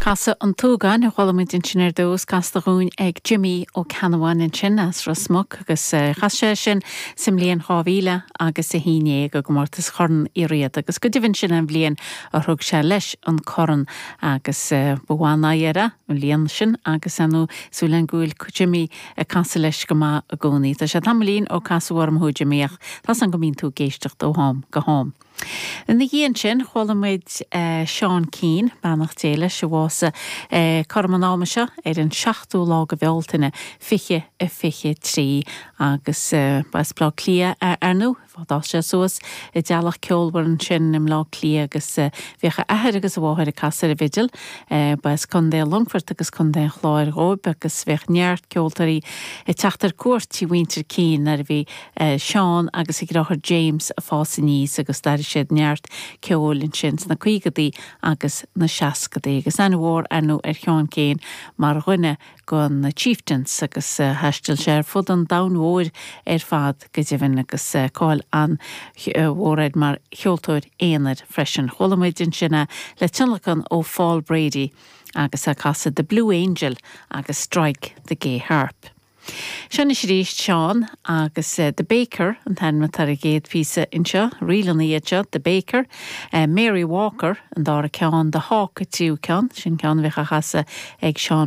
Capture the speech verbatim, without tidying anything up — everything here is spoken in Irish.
Casadh an tSúgáin a chuala muid ansin ar dtús casta dúinn ag Jimmy Ó Ceannabháin ansin as Ros Muc agus eh, chas sé sin sa mbliain dhá mhíle agus a haon déag i gcomórtas Chorn Uí Riada agus go deimhin sin an bhliain a thug sé leis an corn agus eh, bhuaigh air an bhliain sin agus anú súil an ghúil Jimmy ag casadh leis go maith i gcónaí. Tá sé tamaillín ó casadh orm thú Jimmy ach tá an go mbíonn tú ag éisteacht ó am go ham. Ina dhiaidh sin chuala muid uh, Seán Keane beannacht Dé leis a bhásaigh uh, cothrom an ama seo ar an seachtú lá de Bhealtaine fiche a fiche trí agus uh, b'as Bleá Cliath ar ndóigh d'fhás sé suas i dteaghlach ceolmhar ansin i mBleá Cliath agus uh, bhíodh a athair agus a mháthair ag casadh ar an bhfidil uh, b'as Contae Longfoirt agus Contae an Chláir dóibh agus bhíodh neart ceoltóirí ag teacht ar cuairt tigh mhuintir Keane nuair a bhí uh, Seán agus a dheartháir James ag fás aníos agus d'airigh siad neart ceoil ansin sna caogadaí agus na seascadaí agus aithne mhór ar ndóigh ar Sheán Keane mar dhuine de na Chieftains agus uh, thaistil sé ar fud an domhain mhóir ar fad go deimhin agus uh, cáil an-mhór air mar cheoltóir aonair freisin. Chuala muid ansin le tionlacan ó Paul Brady agus a casadh The Blue Angel agus Strike the Gay Harp. Sin arís Seán agus uh, The Baker an t-ainm atá ar an gcéad phíosa anseo, ríleanna iad seo The Baker, uh, Mary Walker an dara ceann The Hawk an tríú ceann, sin ceann bheith a chasadh ag Seán